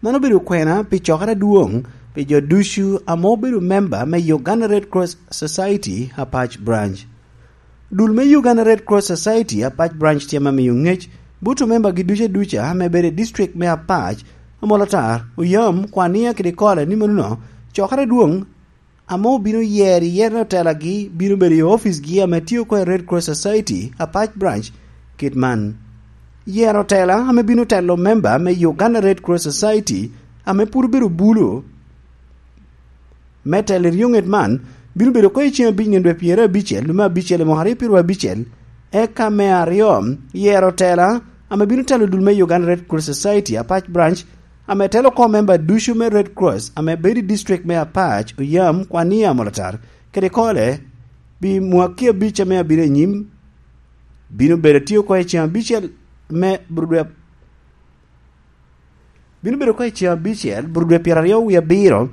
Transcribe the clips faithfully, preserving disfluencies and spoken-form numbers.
Man obedo kwena pi cokere adwoŋ pi jo ducu ame obedo memba me Uganda Red Cross Society Apac Branch. Dul me Uganda Red Cross Society Apac Branch tye ame miyo ŋec bot omembagi ducu aduca ame bedo i district me Apac, Amolatar, Oyam, Kwania kede Kole ni mano cokere adwoŋ ame obino yero i yero otelagi bino bedo i oficgi ame tye oko i Red Cross Society Apac Branch kit man. Yero otela ame bino telo memba me Uganda Red Cross Society ame pwod obedo bulu me telo i ryoŋet man bino bedo oko i ceŋ abic nino dwe pyerabicel lume abicel i mwaka aryo pyeraryo abicel, eka me aryo yero otela ame bino telo dul me Uganda Red Cross Society Apac Branch ame telo oko memba ducu me Red Cross ame bedo i district me Apac, Oyam, Kwania, Amolatar kede Kole pi mwaki abic ame abino anyim, bino bedo tye oko i ceŋ abicel me Burudwe, bino bedo oko i ceŋ abicel Burudwe pyeraryo wie abiro,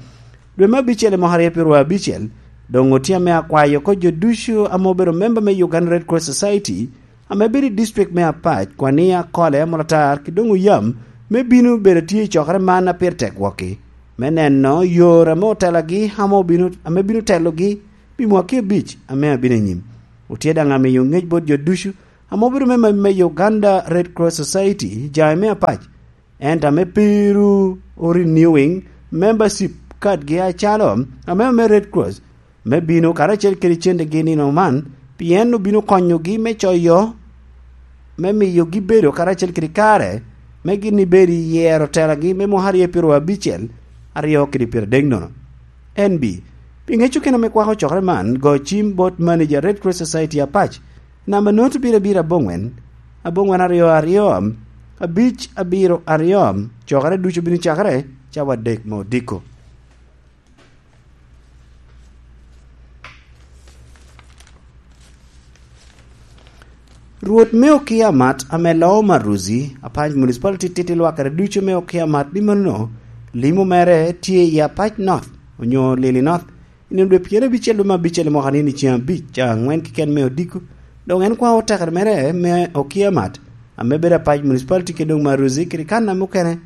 dwe me abicel i mwaka aryo pyeraryo abicel. Doŋ otye ame akwayo oko jo ducu ame obedo memba me Uganda Red Cross Society ame bedo i district me Apac, Kwania, Kole, Amolatar ki doŋ Oyam, me bino bedo tye i cokere man a pire tek wokki, me neno yore ame otelagi ame obino, ame bino telogi pi mwaki abic ame abino anyim. Otye daŋ amiyo ŋec bot jo ducu ame obedo memba me Uganda Red Cross Society, jaŋe me Apac, ento ame pe ru o renewing membership card-gi acalo ame, ame Red Cross, me bino karacel kede cente-gi nino man, pien obino konyogi me coyo, me miyogi bedo karacel kede kare, me gin ibed i yero telagi me mwaka aryo pyeraryo abicel, aryo kede pyeradek nono. N B, pi ŋec okene ame kwako cokere man, go cim bot manager Red Cross Society Apac, namba not birabira aboŋwen, aboŋwen aryo aryo, abic abiro aryo, cokere ducu bino cakere cawa adek me odiko. Rwot me Okia Mat ame loo Maruzi, Apac Municipality titi lwakere ducu me Okia Mat ni mano, limo mere tye i Apac North, onyo Lili North, i nino dwe pyerabicel lume abicel i mwaka ni i ceŋ abic, ca aŋwen keken me odiko, dok en kwao tekere mere me Okia Mat, ame bedo Apac Municipality kede doŋ Maruzi kede kan ame okene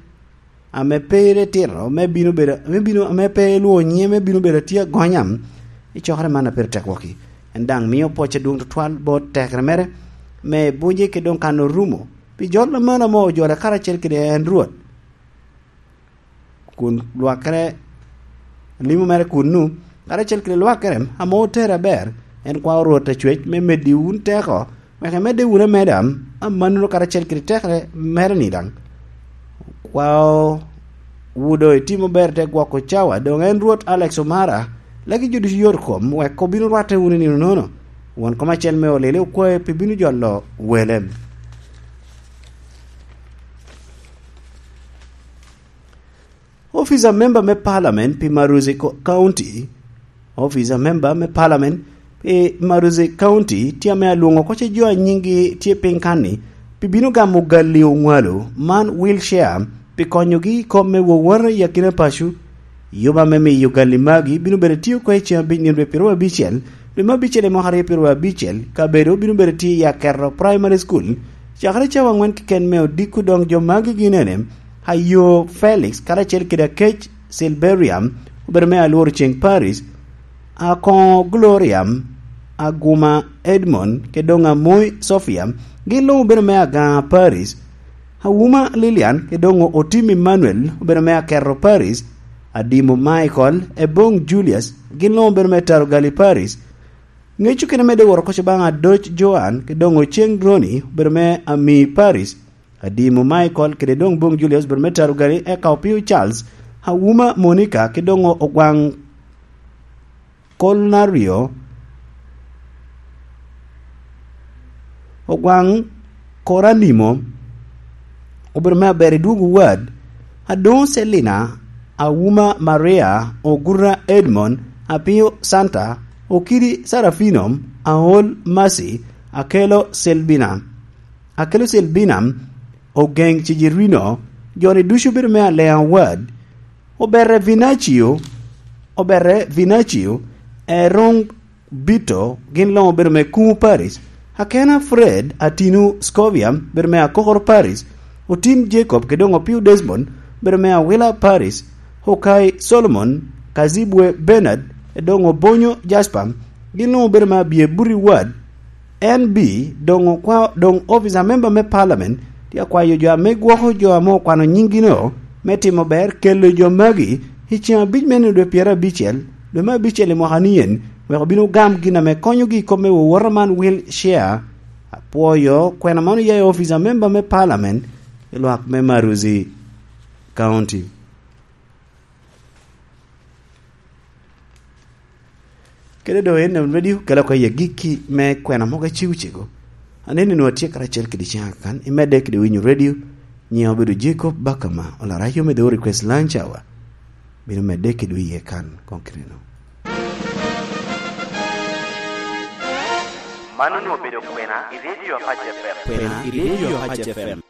ame pe itino, me bino bedo, me bino, ame pe ilwoŋo nyiŋe, me bino bedo atye agonya i cokere man a pire tek wokki. En daŋ mio pwoc adwoŋ tutwal bot tekere mere me bunye kede doŋ kan orumo pi jol aman ame ojole karacel kede en Rwot. Kun lwakere, limo mere kunnu, karacel kede lwakere ame otere aber, en kwao Rwot Acwec me meddi wun teko, wek imedde wunu ameda, amannono karacel kede tekere mere-ni daŋ. Kwao wu doŋ itimo ber te gwoko cawa, doŋ en Rwot Alex Omara, laki jo ducu yot kom, wek obin orwatte wunu i nino nono. Won kom acel me olile okwae pi bino jolo wele. Officer member me parliament pi Maruzi Co-, County, officer member me parliament pi Maruzi County tye ame alwoŋo oko ce jo a nyinggi tye piny kan-ni pi bino gamo galli oŋwalo man wheelchair pi konyogi i kop me wowota i akina paco. Yub ame miyo galli magi bino bedo tye oko i ceŋ abic nino dwe pyeraryo abicel, dwe me abicel i mwaka aryo pyeraryo abicel, kabedo bino bedo tye i Aketo Primary School, cakere cawa aŋwen keken me odiko. Doŋ jo magi gin ene, Ayo Felix karacel kede Akec Silberiam, obedo me Alworo Ceng Paris, Akoŋo Gloria, Aguma Edmond, kede doŋ Amoy Sofia, gin luŋ obedo me Agaŋa Paris, Awuma Lilian, kede doŋ Otim Emmanuel, obedo me Aketo Paris, Adimo Michael, Ebong Julius, gin luŋ obedo me Tarogali Paris. Ŋec okene medde wot oko baŋ Adoc Joan, kede doŋ Oceng Roni, obedo me Ami Paris, Adimo Michael, kede doŋ Bong Julius, obedo me Tarogali, eka Opio Charles, Awuma Monica, kede doŋ Ogwaŋ Kolnario, Ogwaŋ Koranimo, obedo me aber i dwogo wad, Adoŋo Selina, Awuma Maria, Oguta Edmond, Apio Santa, Okidi Sarafino, Aol Mercy, Akelo Selbina, Akelo Selbina, Ogeŋ Cijerino, jo-ni ducu obedo me Aleŋ Awad, Obere Vinacio, Obere Vinacio, Erong Bito, gin luŋ obedo me Kumu Paris, Akena Fred, Atinu Scovia, obedo me Akokoro Paris, Otim Jacob, kede doŋ Opio Desmond, obedo me Awila Paris, Okai Solomon, Kazibwe Bernard, Edongo Bonyo Jasper, gin luŋ obedo me Abye Buri Ward, N B, doŋ okwa-, doŋ officer member me parliament tye akwayo jo ame gwoko jo ame okwano nyinggi-no me timo ber kelo jo magi i ceŋ abic me nino dwe pyerabicel, dwe me abicel i mwaka ni en, wek obin ogam gin ame konyogi i kop me wowota man, wheelchair. Apwoyo kwena man oya i officer member me parliament i lwak me Maruzi County. Kede doŋ en radio kelo oko i agikki me kwena mogo acego cego. Aneni nwoŋo atye karacel kede ciŋa kan, imedde kede winyo radio, nyiŋa obedo Jacob Bakama, olarac yo me The Request Lunch Hour, bino medde kede iye kan, koŋ kite-nu. Man onwoŋo obedo kwena i Radio Apac F M. Kwena i Radio Apac F M.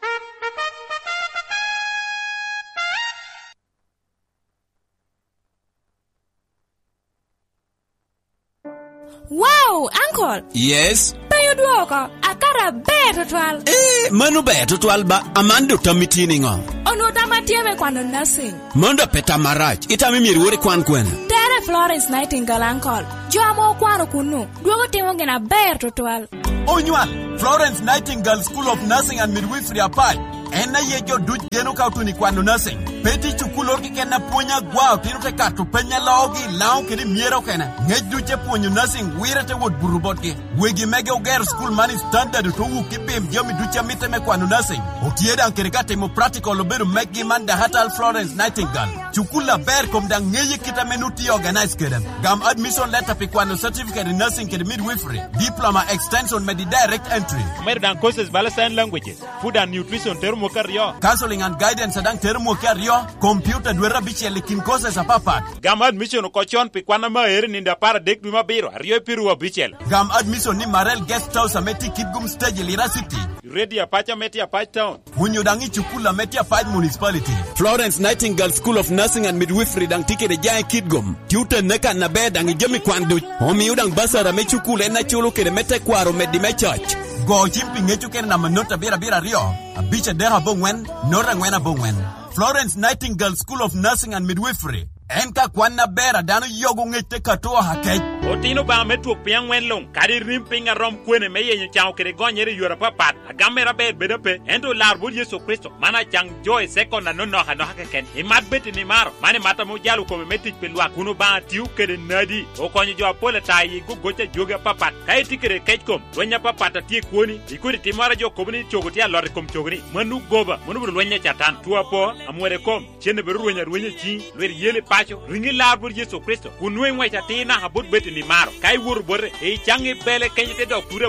Wow, uncle! Yes? Piny odwoko, akato aber tutwal. Eh, mano ber tutwal ba, Amanda, otammi tye niŋo? Onwoŋo tam atye me kwano nursing. Mano dok pe tam marac, itamo myero iwor ikwan kwene? Tere Florence Nightingale, uncle. Jo ame okwano kunnu, dwogo timo gin aber tutwal. Onywal, Florence Nightingale School of Nursing and Midwifery Apac. En aye jo duc geno ka otuno i kwano nursing. Pe tye cukul oro keken a pwony agwa, otino te kato peny a loogi, Laŋo kede myero okene. Ŋec duc te pwonyo nursing, wire te wot buto botgi. Wegi mege ogero cukul man i standard, ote wuk i pim jami duc a mitte me kwano nursing. Otye daŋ kede ka timo practical obedo meggi man Dahatal Florence Nightingale. Cukul aber kom daŋ ŋeye kit ame nut tye organize kede. Gam admission letter pi kwano certificate in nursing kede midwifery, diploma extension medi direct entry. Omedo daŋ courses bala sign languages, food and nutrition tero mwaka aryo. Counseling and guidance daŋ tero mwaka aryo, computer dwete abicel i kin courses apapat. Gam admission oko con pi kwan ame aero i nino apar adek dwe me abiro, aryo i piru abicel. Gam admission ni Marel Guest House ame tye i Kitgum Stage i Lira City. Radio Apac ame tye Apac Town. Onyo daŋ i cukul ame tye Apac Municipality. Florence Nightingale School of Nursing and Midwifery daŋ tye kede jaŋ i Kitgum. Tye otenne kan aber daŋ i jami kwan duc. Omio daŋ basara me cukul en aculo kede me tekwaro omeddi me coc. Go cim pi ŋec okene namba not abiro abiro aryo, abic adek aboŋwen, not angwen aboŋwen. Florence Nightingale School of Nursing and Midwifery. En ka kwan aber a dano yogo ŋec te kato oha kec. Otino Obaŋa me twok piny aŋwen luŋ, kadi rim piny a rom kwene me yenyo caŋo kede gonyere i yore apapat. Agam mere aber bedo ape, ento olar bot Yecu Kricito, man acaŋ jo i sekon anonok anoka keken. Imat bed i nimaro, man imat ame ojalo kome me tic pi lwak, kun Obaŋa tio kede nadi, okonyo jo apol ata i gogoc a jogi apapat. Ka itye kede kec kom, lweny apapat a tye i kwoni, i kodi timmoro a jo kobo ni cogo tye alot i kom cogoni, mano goba, mano obedo lweny a Catan, two apo, amwode kom, cen obedo rweny arwenya i ciŋi, lwit yel i paco, riŋi lar bot Yecu Kricito, kun nwoŋo iŋwec atir naka bot bed i nimaro. Ka iwoto bote, icaŋ i bele kenyo te dok tute